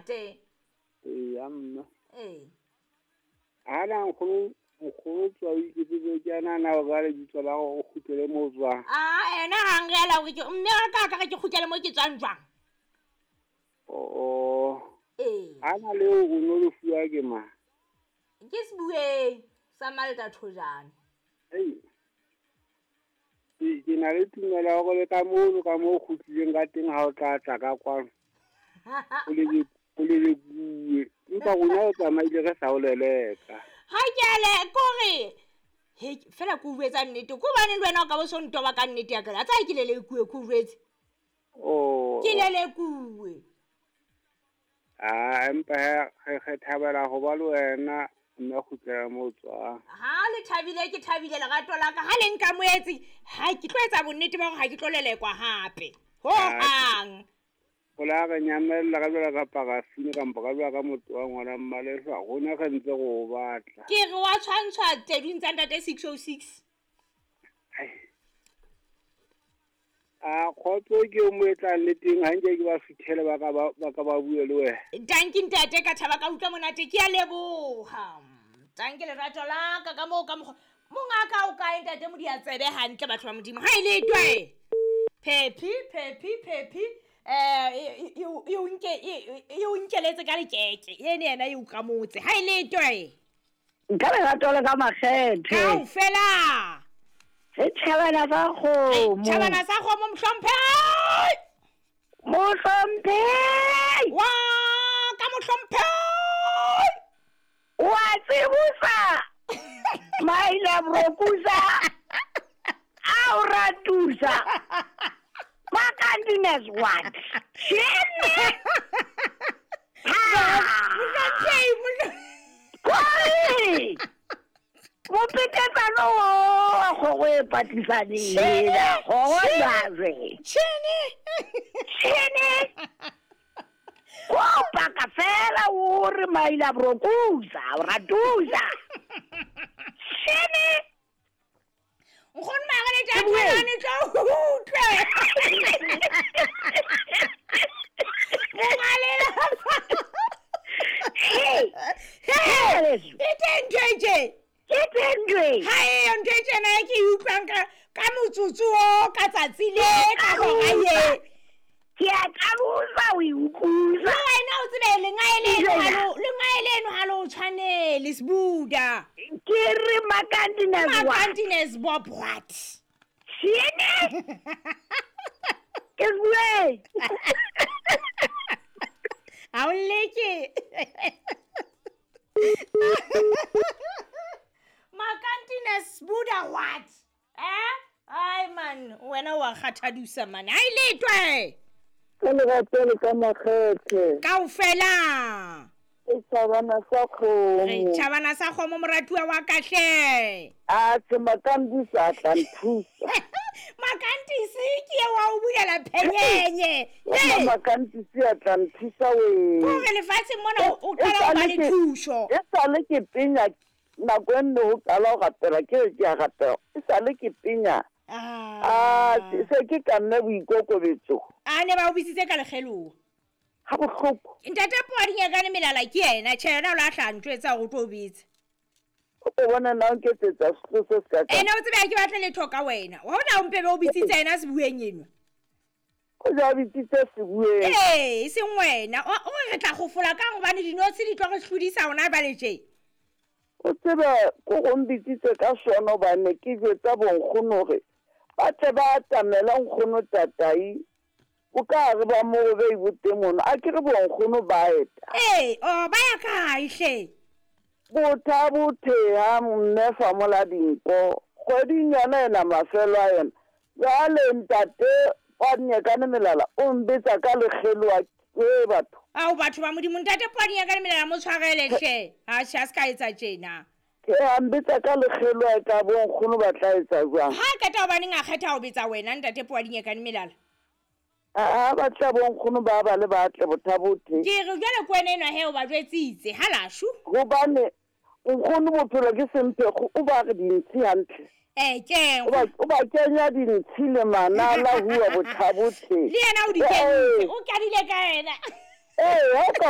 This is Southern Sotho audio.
ntate. Eya mme. Ee. Ha na nkgono nkgono tswa o iketsetse ke ana na o ka lebitso la gore o kgutlele mo o tswang. A ena ga nrela gore ke mme wa ka ka re ke kgutlele mo ke tswang jwang. Oo. Ee. Ha na leo o no le fuwa ke mang? Ke sebueng sa Malta Thojane. Ei. Ke na le tumelo ya hore le ka mono ka moo o kgutlileng ka teng ha o tla tla ka kwano. O lelekuwe. Empa rona o tsamaile re sa o leleka. Ha ke a le kore he fela ke o jwetsa nnete. Ke hobane le wena o ka bo so ntoba ka nnete ya ka. A tsaya ke lelekuwe ke o jwetse. Oh. Ke lelekuwe. Ah, empa he re thabela ho ba le wena mme a kgutlela mo o tswang. Ha le thabile ke thabile lerato la ka. Ha le nkamohetse, ha ke tlo etsa bonnete ba hore ha ke tlo lelekwa hape. Ho hang. O la re nyamella ka jwalo ka parafini kampo ka jwalo ka motho wa ngwana mmalehwa, rona re ntse re o batla. Ke re wa tshwantshwa tedung tsa ntate 606. Ai. A kgotso ke o mo etlang le teng, ha nke ke ba fithele ba ka ba bue le wena. Danki ntate, ka thaba ka utlwa monate, ke a leboha. Danki lerato la ka ka moo ka mokgwa. Mongaka o kae ntate Modiantsebe hantle batho ba Modimo. Ha e le twe. Phephi, phephi, phephi. E o nkeletse ka lekeke. Ene yena e o kamotse. Ha e le twe. Nka lerato le ka makgethe. Kaofela. Re tjhabana sa kgomo. Tjhabana sa kgomo mohlomphehi. Mohlomphehi. Wa ka mohlomphehi. Wa tsebosa. Maila brokusa. A o ratusa. Makantines what? Tjhene. Mohlomphehi, mohlomphehi. Mopetetsano wa kgogo e patlisaneng ena, kgogo jwale. Tjhene. Tjhene. Ko paka fela o re maila brokusa, o ratusa. Tjhene. Nkgono Margaret a tshwana tlo utlwe. Mongalelapa. Hey. Hey. E teng ntho e tje? Ke teng ntho e. Ha eyo ntho e tjena e ke e utlwang ka motsotso o, ka tsatsi le, ka hora ye. Ke a qabosa o e utlwisa. Le wena o tsebe lengae leno ha le o tshwanele, Sebuda. Ke re Makantines what? Makantines Bob what? Tjhene. Ke bue. Ha o leke. Makantines Buddha what? Eh? Ai man, wena wa kgathadusa man. Ai letwe. Ka lerato le ka makgethe. Kaofela. E tjhabana sa kgomo. Re tjhabana sa kgomo moratuwa wa ka hle. A tjhe Makantisi a tla nthusa. Makantisi ke wa o bulela phenyenye. Hey. Makantisi a tla nthusa we. Hore lefatsheng mona o qala ho ba le thuso. E sale ke penya nako e nne ho qala ho rapela ke re ke a rapela. E sale ke penya. Ah, se ke ka nna boikokobetso. A ne ba o bitsitse ka lekgeloa. Ha bohloko. Ntate Poadinyakane melala ke yena, tjhe yena o la hla ntjwetsa hore o tlo bitsa. O bona na o nketsetsa setlo se se ka. Ene o tsebe ha ke batle letho ka wena. Wa hona o mpebe o bitsitse yena sebueng enwa. O ja bitsitse sebueng. Ee, e seng wena. O re tla gofola kang hobane dinotshi di tlo re hlodisa hona jwale tje. O tsebe ko go mbitsitse ka sona hobane ke jwetsa bonkgono hore ba tle ba atamela nkgono tatai. O ka re ba mo be boteng mono. A ke re bonkgono ba eta. Ee, o ba ya kae hle? Botha botheha mme fa mola dinko. Kgweding yona ena mafelo a yona. Jwale ntate Poadinyakane melala o mbetsa ka lekgeloa ke batho. Ao batho ba Modimo ntate Poadinyakane melala mo tshwarele hle. Ha tjhe a se ka etsa tjena. Ke a mbetsa ka lekgeloa ka bonkgono ba tla etsa jwang? Ha qeta hobaneng a kgetha ho betsa wena ntate Poadinyakane melala. A batla bonkgono ba ba le batle bothabothe. Ke re jwale ke wena enwa he o ba jwetsitse ha lashu. Hobane nkgono bophelo ke semphego o ba re dintshi hantle. Ke o ba kenya dintshi le manala hua bothabothe. Le yena o di kentse, o kadile ka yena. Ha o ka